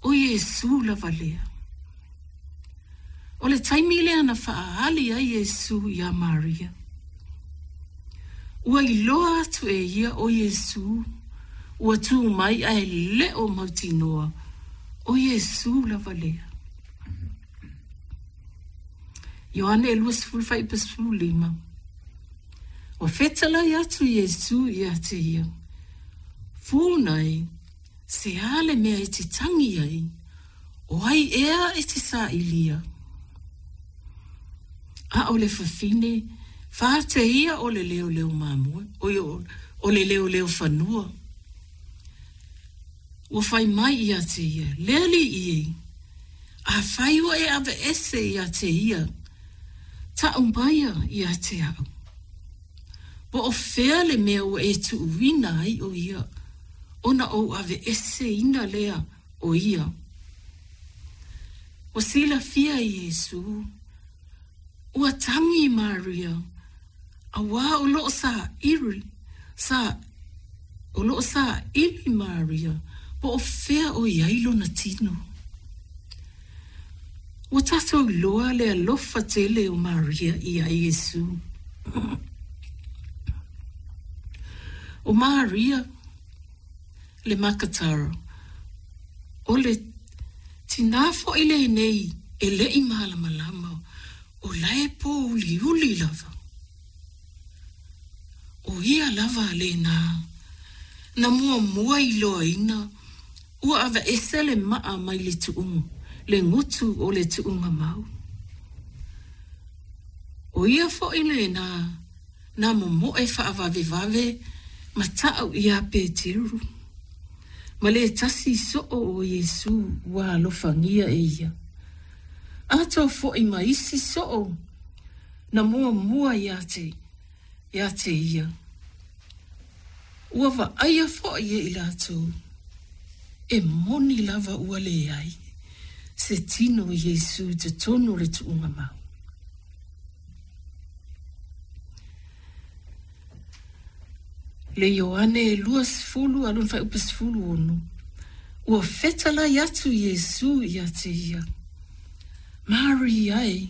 ʻO Iesū lava lea. ʻO le taimi lea na faaali ai Iesū iā Maria. Ua iloa atu e ia ʻo Iesū ua tū mai a e leʻo mautinoa ʻo Iesū lava lea. Ioane 20 15. Ua fetalai atu Iesū iā te ia, Fūnai, se a le mea e te tangi ai, o ai ea e te sāilia? A o le fafine, fā te ia o le leoleo mamoe, oi o, o le leoleo fanua. Ua fai mai iā te ia, Le Alii e, afai ua e aveese iā te ia, taʻu maia iā te aʻu. Po o fea le mea ua e tuuina ai o ia, ona ou aveeseina lea o ia. Ua silafia e Iesū, ua tagi Maria, auā o loo saili, sa, o loo saili Maria, po o fea o i ai lona tino. Ua tatou iloa le alofa tele o Maria iā Iesū. O Maria le Makatara, o le tinā foʻi lenei e leʻi malamalama o la e pōuliuli lava. ʻO ia lava lēnā na muamua iloaina ua aveese le maʻa mai le tuʻu le gutu o le tuʻuga mau. ʻO ia foʻi lēnā na momoʻe faavavevave ma taʻu iā Peteru, ma le tasi soʻo o Iesū ua alofagia e ia. Atoa foʻi ma isi soʻo na muamua iā te, iā te ia. Ua vaaia foʻi e i latou, e moni lava ua leai se tino o Iesū i totonu o le tuʻuga mau. Le Ioane 20 a lona faaiupu 16, ua fetalai atu Iesū iā te ia, Maria e,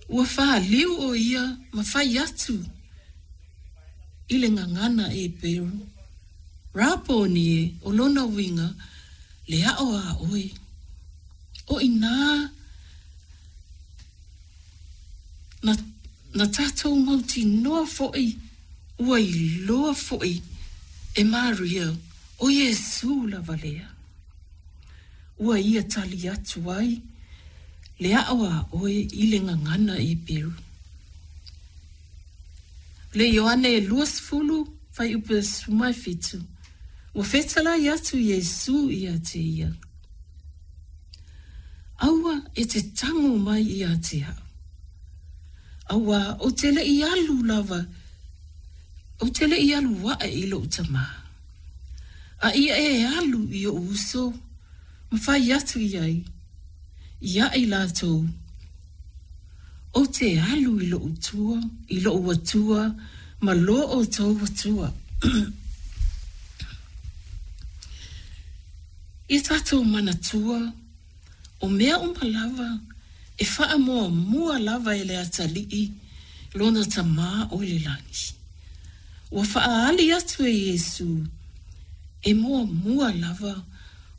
ua fāliu ʻo ia ma fai atu i le gagana Heperu, Raponi e, o lona uiga, le aʻo a ʻoe. ʻO inā na, na tatou mautinoa foʻi ua iloa foʻi e Maria ʻo Iesū lava lea. Ua ia tali atu ai le aʻo a ʻoe i le gagana Heperu. Le Ioane 20, fuaiupu 17, ua fetalai atu Iesū iā te ia, Aua e te tango mai iā te aʻu. Auā ou te leʻi alu lava, ou te leʻi alu aʻe i loʻu tamā. A ia e alu i oʻu uso, ma fai atu i ai, iā i lātou, Ou te alu i loʻu tua, i loʻu Atua, ma lo ʻoutou Atua. I tatou manatua, o mea uma lava e faamuamua lava e le Atalii lona Tamā o i le lagi. Ua faaali atu e Iesū, e muamua lava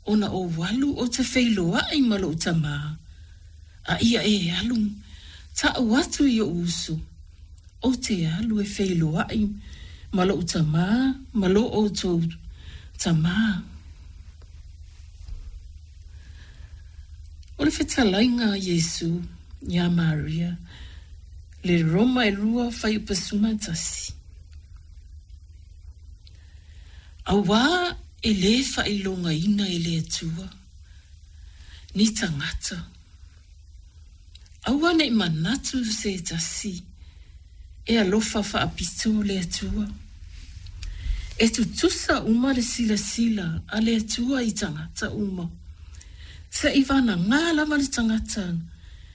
ona ou alu ou te feiloaʻi ma loʻu Tamā, A ia e alu, taʻu atu i oʻu uso, ou te alu e feiloaʻi ma loʻu Tamā, ma lo ʻoutou Tamā. O le fetalaiga a Iesū iā Maria, le Roma 2 fuaiupu 11. Auā e lē faailogaina e le Atua. ni tagata. Aua neʻi manatu se tasi e alofa faapito le Atua. E tutusa uma le silasila a le Atua i tagata uma. Seʻi vanagā lava le tagata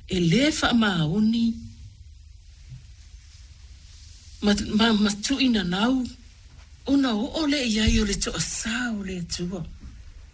e lē faamaoni ma, ma, ma tuʻinanau ona oo lea i ai o le toʻasā o le Atua.